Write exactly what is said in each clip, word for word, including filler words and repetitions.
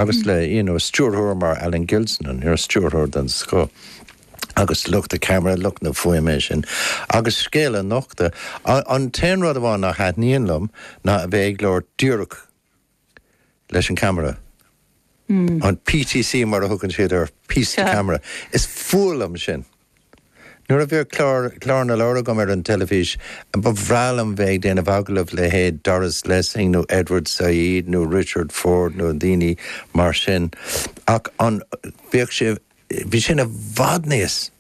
Agus le you know, stiúrthóir mar Alan Gilsenan, ar stiúrthóir den scoth. agus lucht na ceamara lucht na fuaime sin. Agus scéal a nochtadh an t-aon rud amháin nach dtaitníonn liom ná a bheith ag labhairt díreach leis an camera. Mm. An PTC mar a thugann siad ar piece to camera. Is fuath liom sin. Nuair a bhí clár clár na leabhar agam ar an teilifís, ba bhreá liom bheith ag déanamh agallamh le leithéid Doris Lessing nó Edward Said nó Richard Ford nó daoine mar sin. Ach an bheadh sé bhí sin i bhfad níos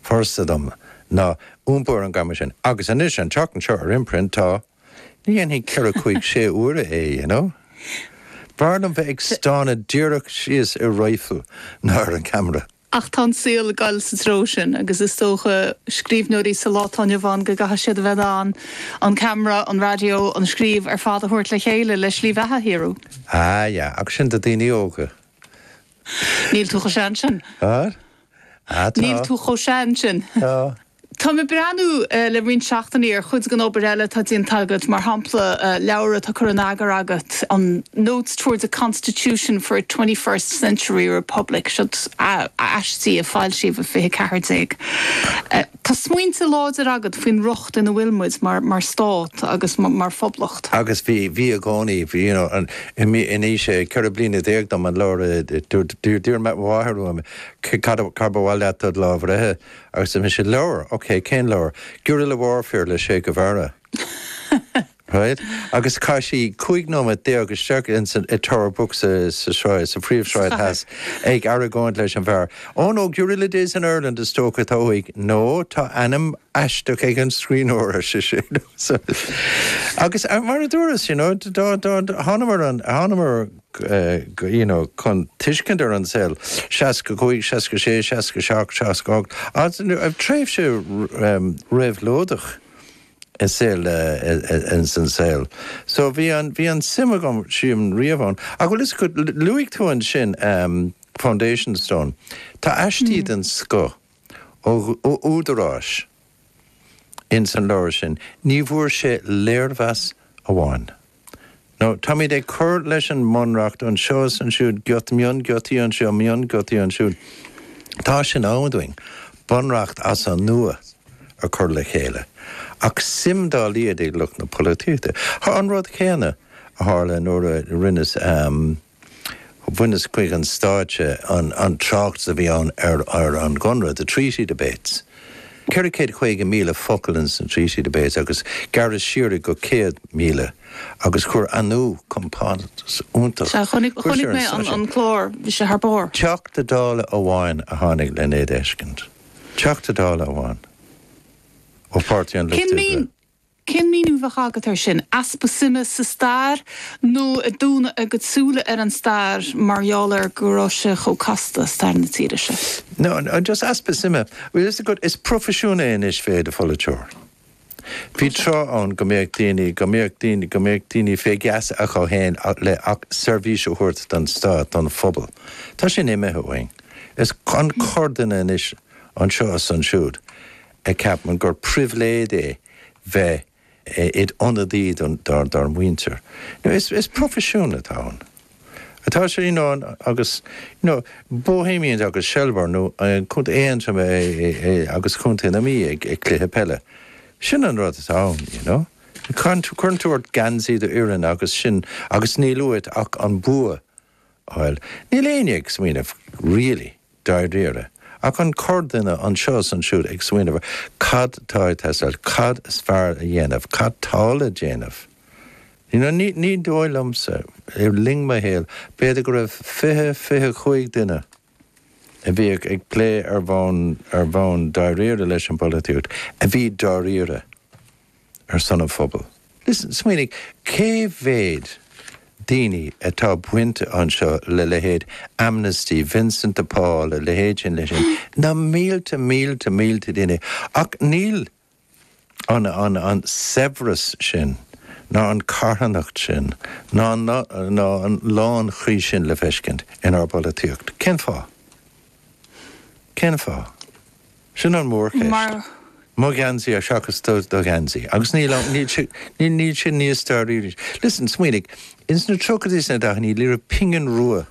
furasta dom ná iompar an gceamara sin. Agus anois an teach seo ar imprint tá ní dhéanfaidh ceithre cúig sé uaire é, you know? B'fhearr liom bheith ag stánadh díreach síos i rifle ná ar an camera. Ach tá an saol ag dul sa treo sin agus is dócha scríbhneoirí sa lá atá inniu ann go gcaithfidh siad a bheith an an camera, an radio, an scríobh ar fad a thabhairt le chéile le slí bheatha a shaothrú. Ah yeah, ach sin do daoine óga. Níl tú chomh sean sin. Ah? Ah, tá. Níl tú chomh sean sin. Tá. Tá mé ag breathnú uh, le roinnt seachtainí ar chuid den obair eile atá déanta agat mar shampla uh, leabhar atá curtha in eagar agat an Notes towards a Constitution for a Twenty-First Century Republic seo aistí a foilsíodh i fiche ceathair déag. Uh, tá smaointe láidir agat faoin riocht ina bhfuil muid mar, mar stát agus mar, mar phoblacht. Agus bhí bhí i gcónaí bhí you know, an in aois ceithre bliana déag dom an leabhar d'iarr m'athair uaim cad ba mhaith leat do lá breithe agus mise leabhar, ok, cén leabhar? Guerrilla Warfare le Che Guevara. Right? Agus chaith sí cúig nóiméad déag isteach in san i Tower Books sa sa sráid sa phríomhshráid theas ag argóint leis an bhfear. Oh no, Guerrilla Days in Ireland is dócha atá uaidh. No, tá ainm aisteach ag an scríbhneoir sé sin. So, agus uh, mar a dúras, you know, dá dá thángamar an thángamar uh, you know, chun tuiscint ar an saol seasca cúig, seasca sé, seasca seacht, seasca ocht, tréimhse um, réabhlóideach i saol in san saol. So bhí an bhí an suim agam sin riamh ann. Ach bhfuil is go luaigh tú ansin um, Foundation Stone. Tá aistí mm. den scoth ó ó údaráis in san leabhar sin, ní bhfuair sé léirmheas amháin. No, táimid ag cur leis an mbunreacht anseo is ansiúd giot mion giotaí anseo mion giotaí ansiúd. Tá sin am dúinn, bunreacht as an nua a chur le chéile. Ach suim dá laghad ag lucht na polaitíochta. Tá an rud céanna a tharla nuair a rinneas um, bhaineas chuig an stáitse an, an trácht a bhí ann ar, ar an gConradh, the treaty debates. Ceithre chéad caoga míle focal in san treaty debates agus gearradh siar go céad míle agus chuir Anu compántas iontach. Chonaic mé an, an clár bhí sé thar barr. Teachta Dála amháin a tháinig le é d'fheiscint. Teachta Dála amháin. Ó Pháirtí an Lucht Oibre. Cén míniú a bheadh agat ar sin easpa suime sa stair nó ag dúnadh a gcuid súile ar an stair mar gheall ar go raibh sé chomh casta stair na tíre seo. No, no just easpa suime. Well, is good is proifisiún é anois bheith i do pholaiteoir. Bhí tráth ann go mbeadh daoine go mbeadh daoine go mbeadh daoine fé gheasa acu féin le ach seirbhís a thabhairt don stát don phobal. Tá sin imithe uainn. Is an corrduine anois anseo is ansiúd a cheapann gur pribhléid é bheith id ionadaí dár dár muintir. No, is, is proifisiún atá ann. Atá sé you know, agus you know, Bohemians agus Shelbourne nó Contae Aontroim agus Contae na Mí ag ag cluiche peile. Sin an rud atá ann, you know. Cuireann tú ort geansaí d'fhoireann agus sin agus níl uait ach an bua a fháil. Níl éinne ag smaoineamh really dáiríre. Ach an corrduine anseo is ansiúd ag smaoineamh cad tá ag teastáil, cad is fearr a dhéanamh, cad tá le déanamh. You know, ní, ní dóigh liomsa i linn mo shaoil, b'fhéidir go raibh fiche fiche cúig duine a bhí ag plé ar bhonn ar bhonn dáiríre leis an bpolaitíocht, a bhí dáiríre ar son an phobail. Listen, smaoinigh, cé mhéad daoine atá bainte anseo le leithéid Amnesty, Vincent de Paul, a leithéid sin leis sin, na mílte mílte mílte daoine ach níl an an an saibhreas sin ná an carthanacht sin ná ná ná an lánchroí sin le feiscint inár bpolaitíocht. Cén fáth? Cén fáth? Sin an mhórcheist. Mar Mo gheansaí ar seachas do do gheansaí. Agus níl níl sé níl níl sin níos dáiríre. Listen, smaoinigh, ins na tríochaidí is na daichidí ní raibh pingin rua